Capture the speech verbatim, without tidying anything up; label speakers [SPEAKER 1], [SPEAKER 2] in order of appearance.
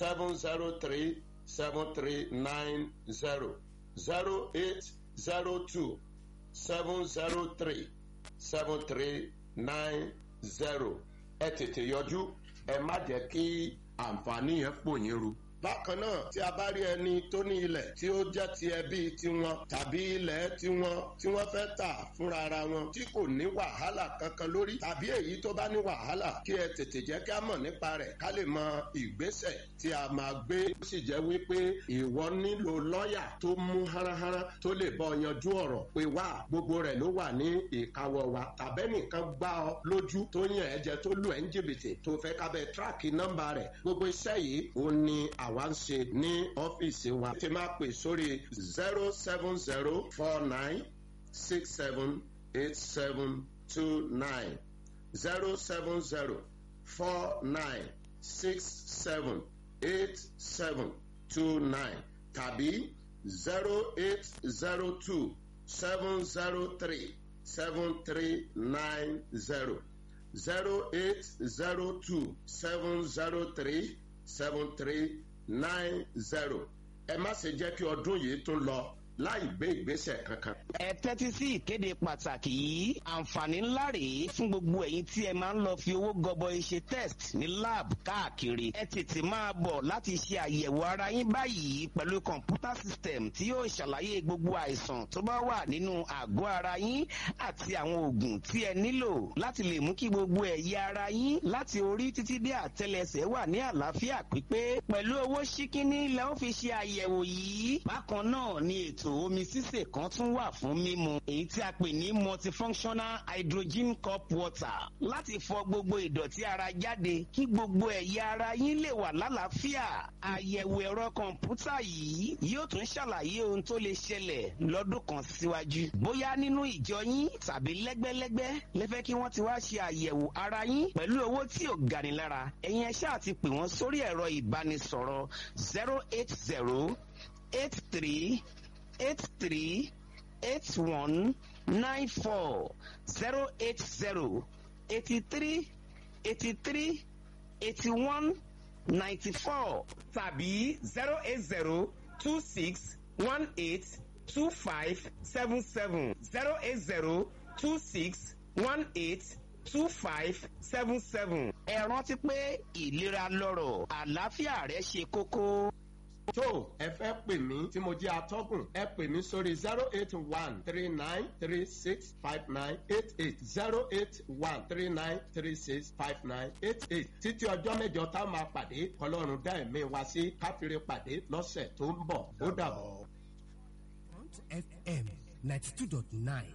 [SPEAKER 1] seven zero three seven three nine zero zero eight zero two seven zero three seven three nine zero ẹ tètè yọjú ẹ má jẹ́ kí àǹfààní yẹn pò yín ru. Bákan náà, tí a bá rí ẹni tó ní ilẹ̀ tí ó jẹ́ ti ẹbí tiwọn tàbí ilẹ̀ tiwọn tí wọ́n fẹ́ tà fúnra ara wọn tí kò ní wàhálà kankan lórí, tàbí èyí tó bá ní wàhálà, kí ẹ tètè jẹ́ kí a mọ̀ nípa rẹ̀ ká lè mọ ìgbésẹ̀ tí a máa gbé. Ó sì jẹ́ wípé ìwọ nílò lọ́ọ̀yà tó mú háráhárá tó lè bọ́ yanjú ọ̀rọ̀ pé wá, gbogbo rẹ̀ ló wà ní ìkáwọ́ wa. Tàbẹ́nìkan gbá ọ lójú tó yàn ẹ́ jẹ, tó lù ẹ́ ń jìbìtì, tó fẹ́ kábẹ́ tíráàkì nọ́mbà rẹ̀, gbogbo iṣẹ́ yìí ó ní àwa ń ṣe ní ọ́fíìsì wa. Ti máa pè sórí zero seven zero four nine six seven eight seven two nine, zero seven zero four nine six seven eight seven two nine, tàbí zero eight zero two seven zero three seven three nine zero, zero eight zero two seven zero three seven three nine zero. Ẹ má ṣe jẹ́ kí ọdún yìí tún lọ láì gbé ìgbésẹ̀ kankan.
[SPEAKER 2] Ẹ tẹ́tí sí ìkéde pàtàkì yìí. Àǹfààní ńlá rèé fún gbogbo ẹ̀yin tí ẹ máa ń lọ fi owó gọbọi ṣe test ní lab káàkiri. Ẹ tètè máa bọ̀ láti ṣe àyẹ̀wò ara yín báyìí pẹ̀lú computer system tí yóò ṣàlàyé gbogbo àìsàn tó bá wà nínú àgọ́ ara yín àti àwọn oògùn tí ẹ nílò láti lè mú kí gbogbo ẹ̀yà ara yín láti orí títí dé àtẹlẹsẹ̀ wà ní àlàáfíà pípé. Pẹ̀lú owó ṣíkíní lẹ ó fi ṣe àyẹ̀wò yìí. Bákan náà ni ètò omi sísè kan tún wà fún mímu, èyí tí a pè ní multifunctional hydrogen cup water, láti fọ gbogbo ìdọ̀tí ara jáde kí gbogbo ẹ̀yà ara yín lè wà lálàáfíà. Àyẹ̀wò ẹ̀rọ kọ̀ǹpútà yìí yóò tún ṣàlàyé ohun tó lè ṣẹlẹ̀ lọ́dún kan síwájú. Bóyá nínú ìjọ yín tàbí lẹ́gbẹ́lẹ́gbẹ́ lẹ́fẹ́ kí wọ́n ti wá ṣe àyẹ̀wò ara yín pẹ̀lú owó tí ò gani lára, ẹ̀yin ẹ ṣáà ti pè wọ́n sórí ẹ̀rọ ìbánisọ̀rọ̀ zero eight zero eight three eight three eight one nine four, zero eight zero eighty three eighty three eighty one ninety four
[SPEAKER 3] tàbí zero eight zero two six one eight two five seven seven, zero eight zero two six one eight two five seven seven.
[SPEAKER 2] Ẹ rántí pé ìlera lọ́rọ̀, àlàáfíà rẹ ṣe kókó.
[SPEAKER 1] Tó ẹ fẹ́ pè mí tí mo jẹ́ atọ́kùn, ẹ pè mí sórí zero eight one three nine three six five nine eight eight, zero eight one three nine three six five nine eight eight. Títí ọjọ́ mẹ́jọ tá a máa pàdé, Ọlọ́run dá ẹ̀mí wa sí káfíńrè pàdé lọ́sẹ̀ tó ń bọ̀. Ó dàbọ̀.
[SPEAKER 4] F M ninety two dot nine.